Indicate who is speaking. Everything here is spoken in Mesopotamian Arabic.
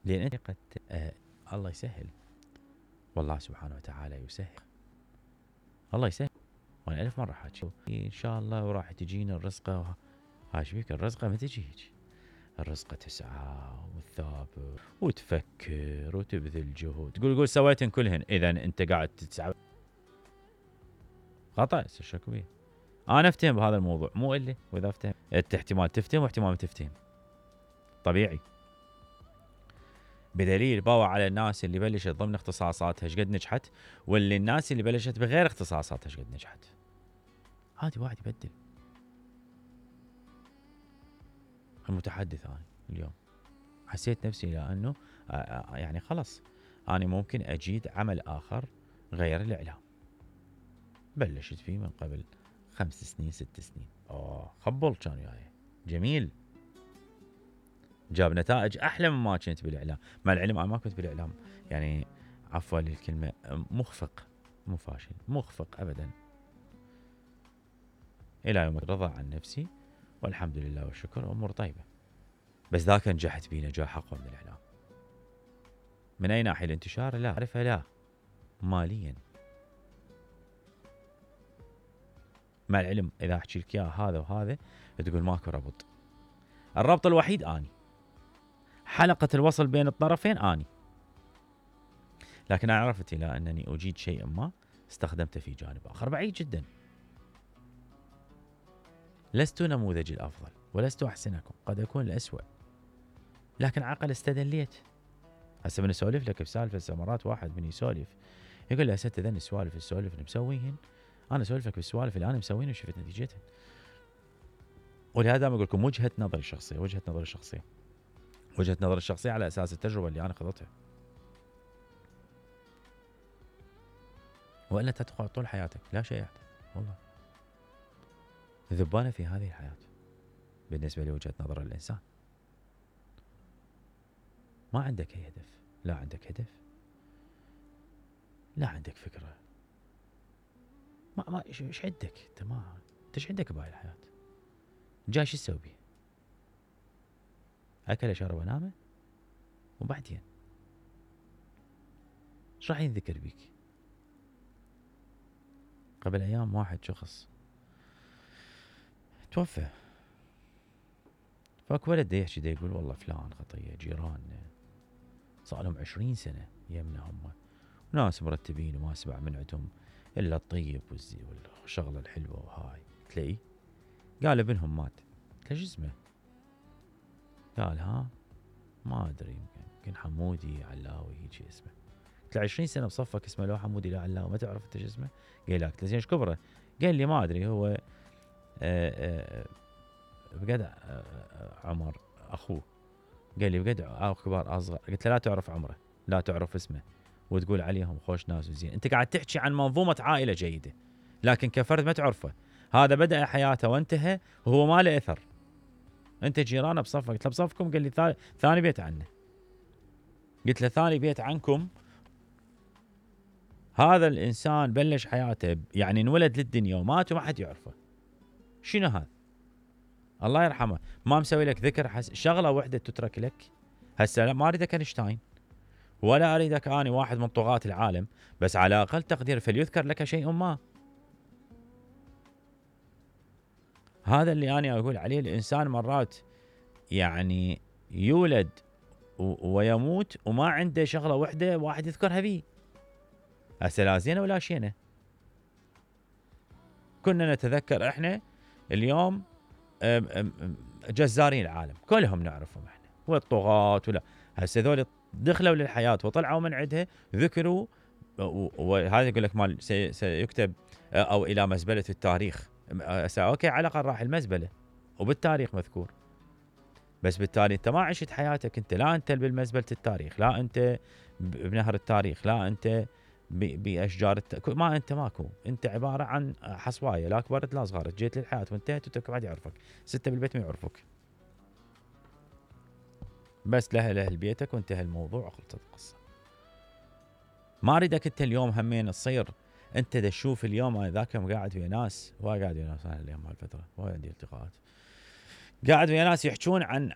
Speaker 1: لان انت قد الله يسهل، والله سبحانه وتعالى يسهل، الله يسهل. وانا 1000 مرة حاكي ان شاء الله وراح تجينا الرزقة. هاي شبيك الرزقة ما تجي هيك، الرزقة تسعى وتثابر وتفكر وتبذل جهد، تقول سويتن كلهن، اذا انت قاعد تسعى خطأ. شكو بيه؟ انا افتهم بهذا الموضوع مو اللي، واذا افتهم انت احتمال تفتهم واحتمال ما تفتهم، طبيعي. بدليل باوع على الناس اللي بلشت ضمن اختصاصاتها ايش قد نجحت، واللي الناس اللي بلشت بغير اختصاصاتها ايش قد نجحت. عادي واحد يبدل. المتحدث انا اليوم حسيت نفسي لانه يعني خلص انا ممكن اجيد عمل اخر غير الاعلام. بلشت فيه من قبل 5 سنين 6 سنين. خبل كان وياي جميل، جاب نتائج احلى مما كنت بالاعلام. مع العلم انا ما كنت بالاعلام يعني عفوا للكلمه مخفق، مو فاشل، مخفق ابدا. الى يوم رضى عن نفسي والحمد لله والشكر، امور طيبه. بس ذاك نجحت به نجاح اقوى من الاعلام. من اي ناحيه؟ الانتشار لا اعرفها، لا ماليا. مع العلم اذا احكي لك اياه هذا وهذا تقول ماكو ربط. الربط الوحيد اني، حلقه الوصل بين الطرفين اني. لكن انا عرفت الى انني اجيد شيئا ما استخدمته في جانب اخر بعيد جدا. لست نموذج الافضل ولست احسنكم، قد اكون الاسوأ، لكن عقل استدليت. هسه من اسولف لك بسالفه سمرات، واحد من يسولف يقول لي هسه ذن السوالف اللي مسويهن، انا اسولف لك بالسوالف اللي انا مسوينها وشفت نتيجتها. ولهذا دائما اقول لكم وجهه نظري الشخصيه، وجهه نظري الشخصيه على اساس التجربه اللي انا خضتها. والا تدخل طول حياتك لا شيء يحدث، والله ذبانه في هذه الحياه. بالنسبه لوجهه نظر الانسان ما عندك اي هدف، لا عندك هدف، لا عندك فكره، ما ايش عندك انت؟ ما انت ايش عندك بهاي الحياه؟ جاي شو تسوي بيه؟ اكل شرب نامه وبعدين ايش راح ينذكر بيك؟ قبل ايام واحد شخص توفى، فاك ولد يحكي دا يقول والله فلان خطيه جيراننا صار لهم 20 سنه يمنا هم، وناس مرتبين وما اسمع من عندهم الا الطيب والشغله الحلوه وهاي. تلاقي قال ابنهم مات. قلت له شو اسمه؟ قال ها ما ادري، يمكن حمودي علاوي هيك اسمه. قلت له 20 سنه بصفك اسمه لو حمودي لا علاوي ما تعرف انت شو اسمه؟ قال لا. قلت له زين ايش كبره؟ قال لي ما ادري، هو بقد عمر اخوه. قال لي بقد كبار اصغر. قلت له لا تعرف عمره، لا تعرف اسمه، وتقول عليهم خوش ناس وزين. انت قاعد تحكي عن منظومه عائله جيده، لكن كفرد ما تعرفه. هذا بدأ حياته وانتهى وهو ما له اثر. انت جيرانه بصفك. قلت له بصفكم؟ قال لي ثاني بيت عنه. قلت له ثاني بيت عنكم؟ هذا الانسان بلش حياته يعني انولد للدنيا ومات وما حد يعرفه. شنو هذا؟ الله يرحمه ما مسوي لك ذكر شغله واحده تترك لك. هسه ما اريدك اينشتاين ولا اريدك اني واحد من طغاة العالم، بس على اقل تقدير فليذكر لك شيء ما. هذا اللي انا اقول عليه. الانسان مرات يعني يولد ويموت وما عنده شغله واحده واحد يذكرها بيه. هسه لا زينه ولا شينه. كنا نتذكر احنا اليوم جزارين العالم كلهم نعرفهم احنا، والطغاة ولا. هسه ذول دخلوا للحياه وطلعوا من عندها ذكروا، وهذا يقول لك مال سيكتب او الى مزبله التاريخ. اوكي على الاقل راح المزبله وبالتاريخ مذكور، بس بالتالي انت ما عشت حياتك. انت لا انت بالمزبله التاريخ، لا انت بنهر التاريخ، لا انت باشجار ما انت ماكو. انت عباره عن حصوايه، لا كبرت لا صغرت، جيت للحياه وانتهت وترك واحد يعرفك. 6 بالبيت ما يعرفك، بس لاهل بيتك وانتهى الموضوع وخلصت القصه. ما اريدك انت اليوم همين تصير انت تشوف اليوم. ذاك يوم قاعد ويا ناس، انا اليوم هالفتره وعندي التقاءات، قاعد ويا ناس يحجون عن